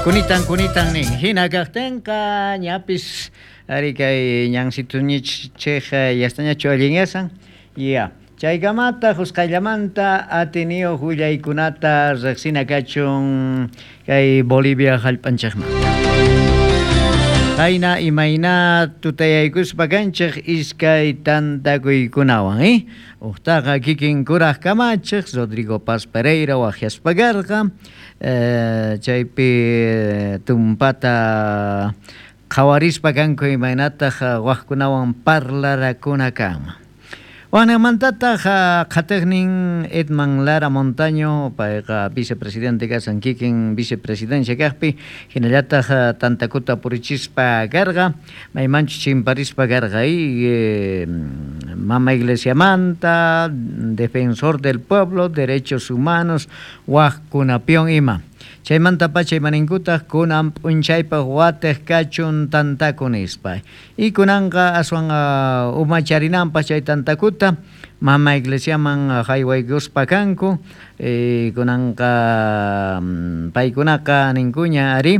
Kunitan kunitan nin. Hina kaqtinqa ñapis ari kay ñansituñichej yastañachu allinyasan. Ya. Chaykamata husqayllamanta atiniyuq willaykunata riqsina kachun kay Bolivia hallp'anchikmanta. Qayna imayna tutayaykuspa kanchik iskay tantakuykunawan, eh? Uqtaqa kikin kuraq kamachiq Rodrigo Paz Pereira waqyaspa karqa, chaypi tumpata qhawarispa kanku imaynataq waqkunawan parlarakuna kanman. Waqninmantataq qhatiqnin Edman Lara Montaño, payqa vicepresidente kasan kikin vicepresidencia kaqpi, hinallataq tantakuta purichispa karqa, maymanchus chimparispa karqa mama iglesiamanta, defensor del pueblo, derechos humanos, waqkunapiwan ima. Chaymantapacha imaninkutaq kunan p'unchaypaq watiq kachun tantaku nispa. Y kunanqa aswan umacharinanpaq chay tantakuta mama iglesiaman haywaykuspa kanku. Kunanqa paykunaqa ninkuña ari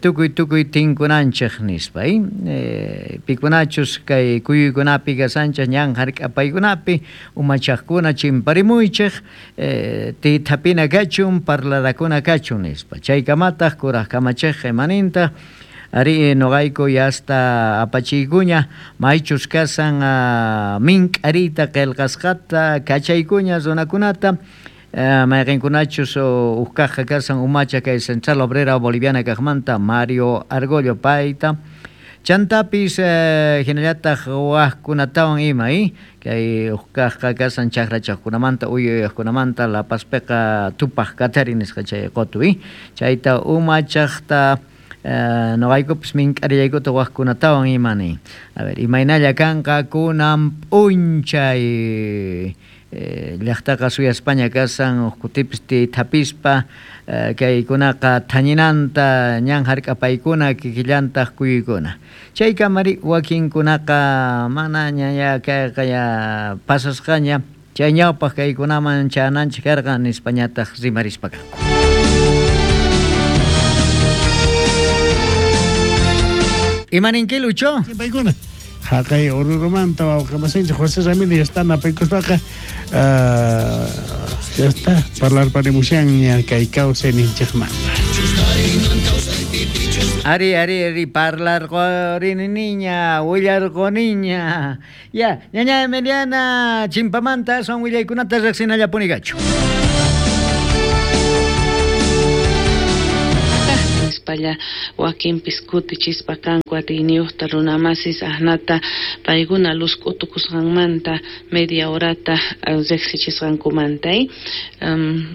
tukuy tukuy tinkunanchik nispa. Pikunachus kay kuyuykunapi kasanchik ñan hark'apaykunapi umachaqkuna chimparimuychik tithapina kachun parlarakuna kachun nispa. Chaykamataq kuraq kamachiqqa imanintaq ari noqayku yasta apachiykuña maychus kasan mink'ariyta qillqasqata kachaykuña runakunata mayqinkunachus uqkaqqa kasan umacha kay Central Obrera Boliviana kaqmanta Mario Argollo payta chantapis hinallataq waqkunatawan ima kay uqkaqqa kasan chakrachaqkunamanta uyuyaqkunamanta La Pazpiqa tupaq katari nisqa chay qutu chayta umachaqta noqaykupis mink'arillaykuta waqkunatawan ima nin. A ver, imaynalla kanqa kunan p'unchay llaqtaqa suyaspaña kasan uqkutipis tithapispa kaykunaqa thañinanta ñan hark'apaykuna kikillantaq kuyuykuna. Chaykamari wakinkunaqa manaña ya kayqa ya pasasqaña chay ñawpaq kaykunaman chananchik karqa nispañataq rimarispa kanku. Imaninki Lucho? Paykuna haqay Orurumanta wawqi masinchik José Ramírez ya está napaykuspaqa ya está parlarparimushanña kay kawsayninchikmanta. Ari, ari, ari, parlarqorini niña, willarqoniña. Ya, ñaña Emiliana, chimpamanta aswan willaykunata riqsinallapuni kachu. Nispalla wakinpis kutichispa kanku atiyniyuqta runamasis ahnata paykuna luz k'utukusqanmanta media horata riqsichisqankumanta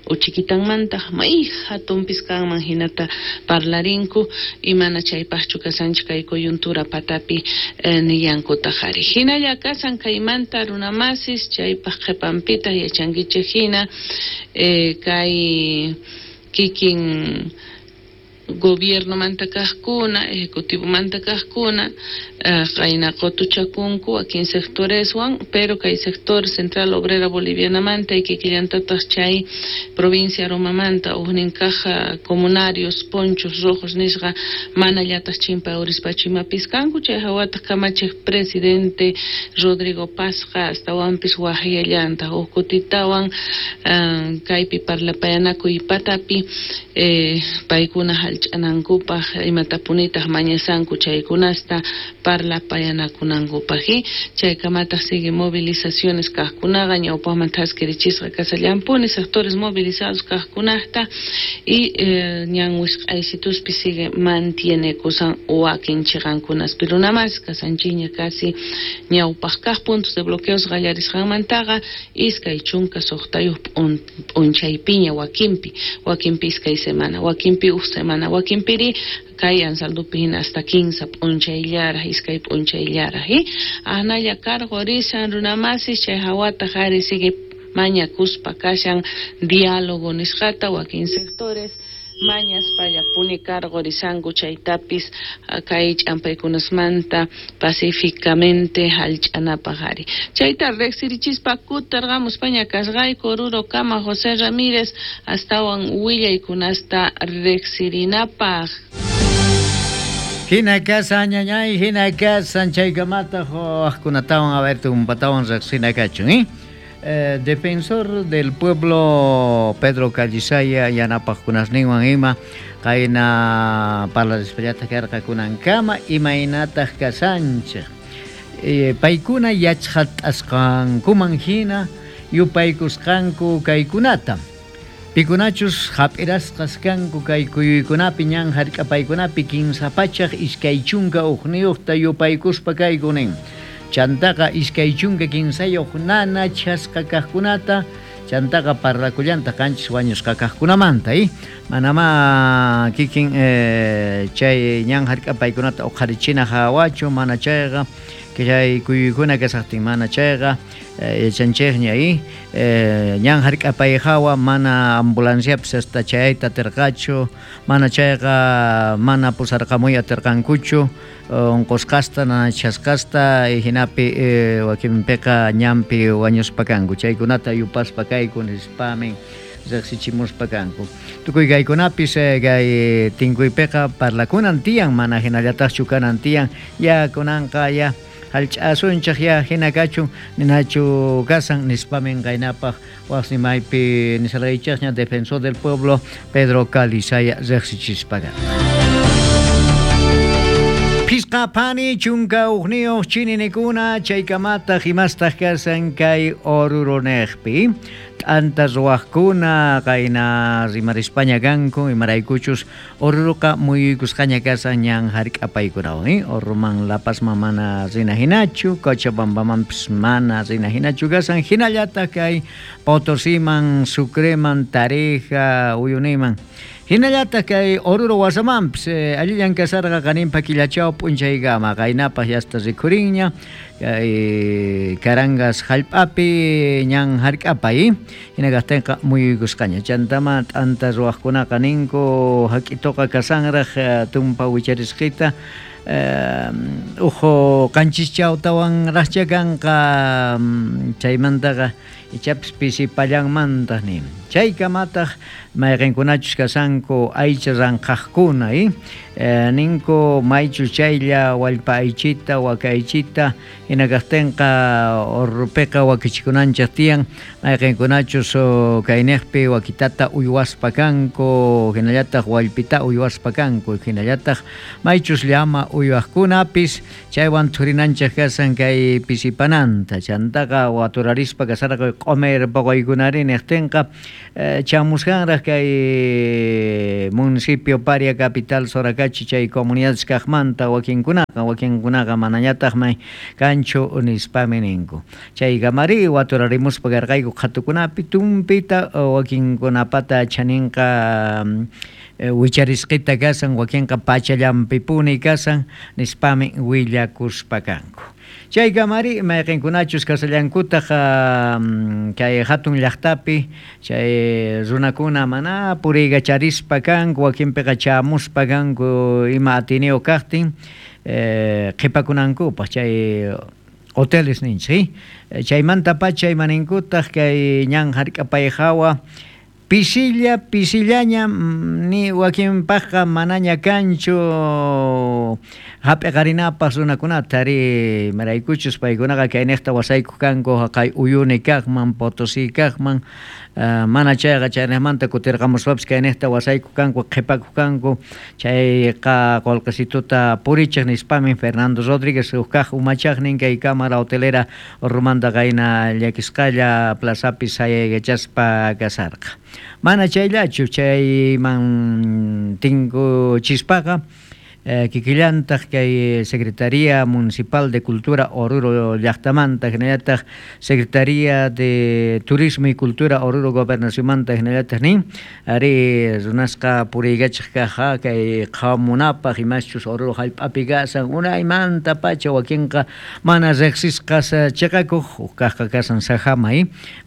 uchikitanmanta may hatunpis kanman hinata parlarinku imana chaypaqchu kasanchik kay coyuntura patapi nillankutaq ari. Hinalla kasan kaymanta runamasis chaypaq qhipanpitaq yachankichik hina kay kikin gobierno manta kaqkuna, ejecutivo manta kaqkuna, qayna qutuchakunku wakin sectoreswan, pero kay sector Central Obrera Boliviana manta y kikillantataq chay provincia Romamanta ujnin kaq comunarios ponchos rojos nisqa mana llataq chimpa urispachu imapis kanku, chay hawataq kamachiq presidente Rodrigo Pazqa astawanpis waqyallantaq uj kutitawan kaypi parlapayanakuy patapi paykuna hallch'anankupaq imatapunitaq mañasanku chaykunasta parlapayanakunankupaq. Chaykamataq sigue movilizaciones kaqkunaqa ñawpaqman thaskirichisqa kasallampuni sectores movilizados kaqkunaqta y ñan wisq'aysituspi sigue mantiene kusan wakin chiqankunaspi runamas kasanchiña casi ñawpaq kaq puntos de bloqueos qallarisqanmantaqa 26 p'unchaypiña wakinpi, wakinpi iskay semana, wakinpi uj semana, wakinpiri kay Anzaldupi hina hasta 15 p'unchayllaraq, iskay p'unchayllaraq. Ahnalla karqu risan runamasis chay hawataq ari sigue mañakuspa kashan diálogo nisqata wakin sectores Mañaspallapuni karqurisanku chaytapis kay ch'ampaykunasmanta pacíficamente hallch'anapaq ari. Chayta riqsirichispa kutirqamuspaña kasqayku Orurokama José Ramírez astawan willaykunasta riqsirinapaq. Hina kasan ñañay, hina kasan chaykamataq wajkunatawan a ver tumpatawan riqsina kachun, ¿eh? Defensor del pueblo Pedro Callisaya yanapaqkunasninwan ima qayna parlarispallata karqa kunankama imaynataq kasanchik. Paykuna yachqat'asqankuman hina yupaykusqanku kaykunata. Pikunachus hap'irasqas kanku kay kuyuykunapi ñan hark'apaykunapi 321 yupaykuspa kayku nin. Chantaqa 23 nana chasqa kaqkunata chantaqa parlakullanta qanchis wañusqa kaqkunamanta, manama kikin chay ñan hark'apaykunata uqharichina hawachu mana chayqa chay kuyuykuna kasaqtin mana chayqa yachanchikña ñan hark'apay hawa mana ambulanciapis hasta chayayta atirqachu mana chayqa mana pusarqamuy atirqankuchu unqusqasta nanachasqasta hinapi wakinpiqa ñanpi wañuspa kanku chaykunata yupaspa kayku nispamin riqsichimuspa kanku. Tukuy kaykunapis kay tinkuypiqa parlakunan tiyan mana hinallataqchu kanan tiyan ya kunanqa ya hallch'asunchik ya hina kachun ninachu kasan nispamin qaynapaq waqsimaypi nisarqaychikña defensor del pueblo Pedro Calizaya riqsichispa karqa. Phisqa phani chunka uqniyuq chininikuna chaykamataq imastaq kasan kay Oruroniqpi t'anta ruwaqkuna qayna rimarispaña kanku imaraykuchus Oruruqa muyuykusqaña kasan ñan hark'apaykunawan, Oruruman La Pazman mana rina hinachu, Cochabambamanpis mana rina hinachu kasan hinallataq kay Potosiman, Sucreman, Tarija, Uyuniman. Hinallataq kay Oruro wasamanpis allillan kasarqa qaninpa killachaw p'unchaykama qaynapaq yasta rikhurinña kay Carangas hallp'api ñan hark'apay hina kaqtinqa muyuykusqaña chantama t'anta ruwaqkunaqa ninku hak'ituqa kasanraq tumpa wicharisqita uhu qanchischawtawanraqcha kanqa chaymantaqa ichapis pisipallanmantaq nin. Chaykamataq mayqinkunachus kasanku aycha ranqaqkuna, ninku maychu chaylla wallpa aychita, waka aychita hina kaqtinqa Orurupiqa wakichikunanchik tiyan mayqinkunachus kayniqpi wakitata uywaspa kanku hinallataq wallpita uywaspa kanku hinallataq maychus llama uywaqkunapis chaywan thurinanchik kasan kay pisipananta chantaqa waturarispa kasarqa q'umir puquykunari niqtinqa chamusqanraq kay municipio Paria capital Soracachi chay comunidades kaqmanta wakinkunaqa manañataqmi kanchu nispami ninku. Chaykamari waturarimuspa karqayku qhatukunapi tumpita wakinkunapata chaninqa wicharisqita kasan wakinqa pachallanpipuni kasan nispami willakuspa kanku. Chaykamari mayqinkunachus kasallankutaq kay hatun llaqtapi chay runakuna mana puriykacharispa kanku wakinpiqa chamuspa kanku ima atiniyuq kaqtin qhipakunankupaq chay hoteles ninchik, chaymantapacha imaninkutaq kay ñan hark'apay hawa pisilla pisillaña ni wakinpaqqa manaña kanchu hap'iqarinapaq runakunata ri imaraykuchus paykunaqa kayniqta wasaykuq kanku haqay Uyuni kaqman Potosí kaqman mana chayqa chayniqmanta kutirqamuspapis kayniqta wasaykuq kanku qhipakuq kanku chayqa qullqisituta purichiq nispami Fernando Rodríguez huk kaq umachaqnin kay cámara hotelera Orurumanta qayna llakisqalla plazapi sayaykachaspa kasarqa. Mana chayllachu chayman tinkuchispaqa Kikillantaq kay Secretaría Municipal de Cultura Oruro llaqtamanta, hinallataq Secretaría de Turismo y Cultura Oruro Gobernacionmanta hinallataq nin, ari runasqa puriykachiq kaq kay qhawamunapaq imaschus Oruro hallp'api kasan unaymantapacha wakinqa mana riqsisqas chiqakuq, huk kaqqa kasan sajama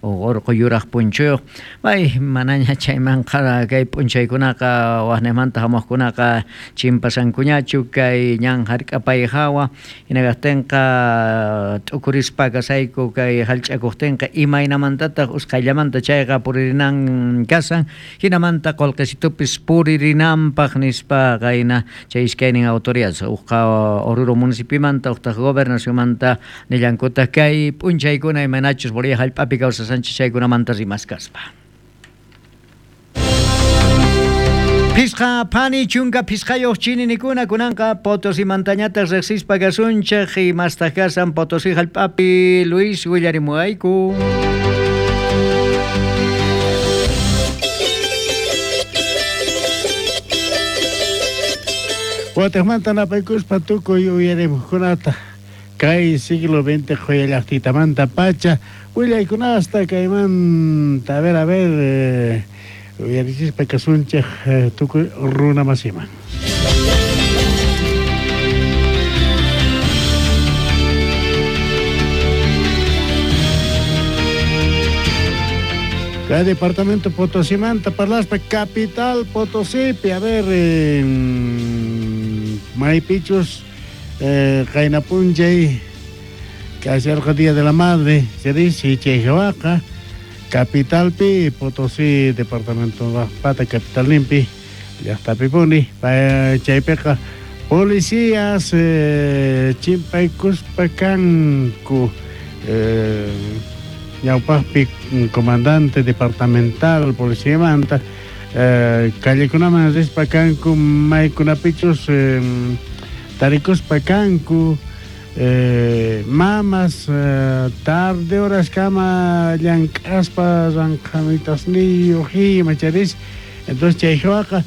urqu yuraq punchuyuq, may manaña chaymanqa kay p'unchaykunaqa waqniqmanta hamuqkunaqa chimpasankuñachu kay ñan hark'apay hawa, hina kaqtinqa t'ukurispa kasayku kay hallch'akuqtinqa imaynamantataq usqhayllamanta chayqa puririnan kasan, hinamanta qullqisitupis puririnanpaq nispa qayna chay iskaynin autoridades hukqa Oruro municipimanta huktaq gobernacionmanta nillankutaq kay p'unchaykuna imaynachus Bolivia hallp'api kawsasanchis chaykunamanta rimaskaspa. Phisqa phani chunka phisqayuq chininikuna kunanqa Potosimantañataq riqsispa kasunchik imastaq kasan Potosí hallp'api Luis willarimuwayku. Watejmanta napaykuspa tukuy uyarimuqkunata kay siglo XX qhuya llaqtitamanta pacha willaykunasta kaymanta a ver uyarichispa kasunchik tukuy runa masiman. Kay departamento Potosimanta parlaspa capital Potosipi, a ver, maypichus qayna p'unchay kasharqa Día de la Madre, se dice chay hawaqa capitalpi Potosí departamento pata capital limpi llaqtapipuni chaypiqa policías chimpaykuspa kanku ñawpaqpi comandante departamental policiamanta callekunaman rispa kanku maykunapichus tarikuspa kanku mamas tarde horas kama llank'aspa ranqhamitasniyuq ima charis, entonces chay hawaqa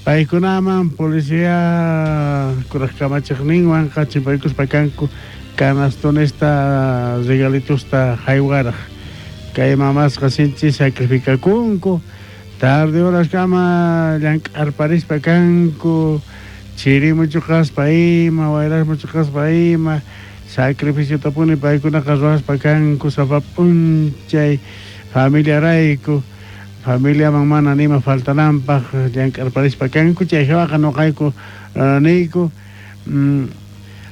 paykunaman policía kuraq kamachiqninwanqa chimpaykuspa kanku canastonesta regalitusta haywaraq kay mamasqa sinchi sacrificakunku tarde horas kama llank'arparispa kanku chirimuchuqaspa ima wayrasmuchuqaspa ima sacrificiotapuni paykunaqa ruwaspa kanku sapa p'unchay familiarayku familiaman mana nima faltananpaq llank'arparispa kanku chay hawaqa nuqayku niyku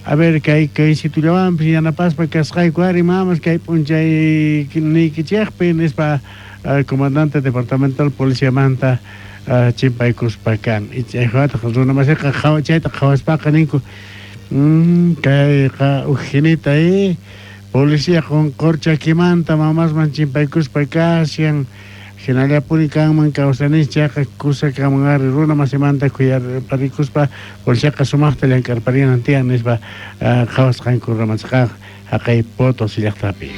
a ver kay situllawanpis yanapaspa kasqayku ari mamas kay p'unchay niykichikpi nispa comandante departamental policiamanta chimpaykuspa kan chay hawataq runa masiqa chayta qhawaspaqa ninku kayqa ujinita policía qunqurchakimanta mamasman chimpaykuspa kashan hinallapuni kanman kawsanis chayqa kusa kanman ari runa masimanta khuyarparikuspa policiaqa sumaqta llank'arparinan tiyan nispa qhawasqanku runamasqa haqay Potosí llaqtapi.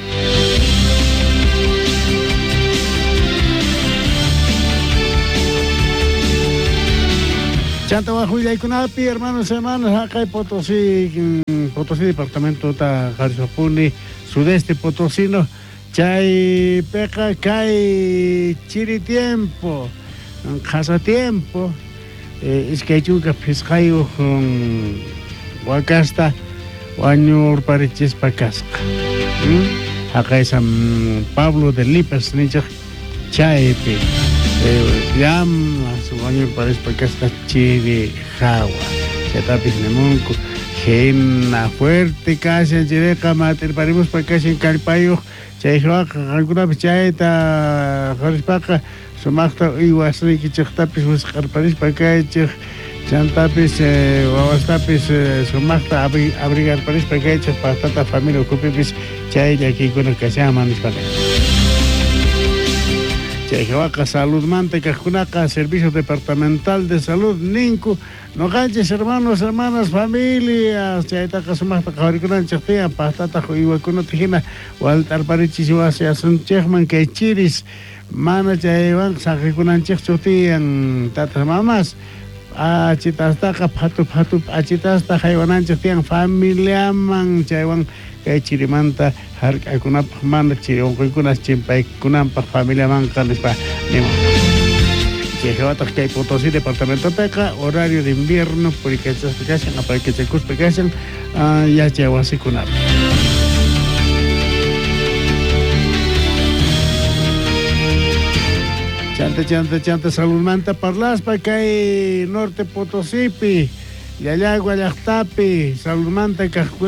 Chanta waj willaykunapi hermanos hermanas haqay Potosí Potosí departamentota qharisapuni sudeste potosino chaypiqa kay chiri tiempo qhasa tiempo iskay chunka phisqayuq wakasta wañurparichispa kasqa haqay San Pablo de Lipas ninchik chaypi llamas wañurparispa kasqa chiri hawa chaytapis nimunku hina fuerte kashan chiriqa matirparimuspa kashan kallpayuq chay hawaqa qankunapis chayta qarispaqa sumaqta uywasniykichiqtapis wisq'arparispa kaychik chantapis wawastapis sumaqta abrigarparispa kaychik paqtata familia ukhupipis chay llakiykuna kashanman nispaqa. Chay hawaqa saludmanta kaqkunaqa Servicio Departamental de Salud ninku noqanchis hermanos, hermanas, familias chaytaqa sumaqta qhawarikunanchik tiyan paqtataq uywakunata hina walt'arparichis wasiyasunchikman kay chiris mana chaywanqa saqikunanchikchu tiyan tatas mamas P'achitastaqa phatu phatu p'achitasta haywananchik tiyan familiaman chaywan kay chirimanta hark'akunapaq mana chiri unquykunas chimpaykunanpaq familiamanqa nispa niman. Chayhawataq kay Potosí departamentopiqa horario de invierno purikachaspa kashan apaykachakuspa kashan yachay wasikunapi. Chanta chanta chanta saludmanta parlaspa kay Norte Potosípi Llallagua llaqtapi saludmanta kaqkuna.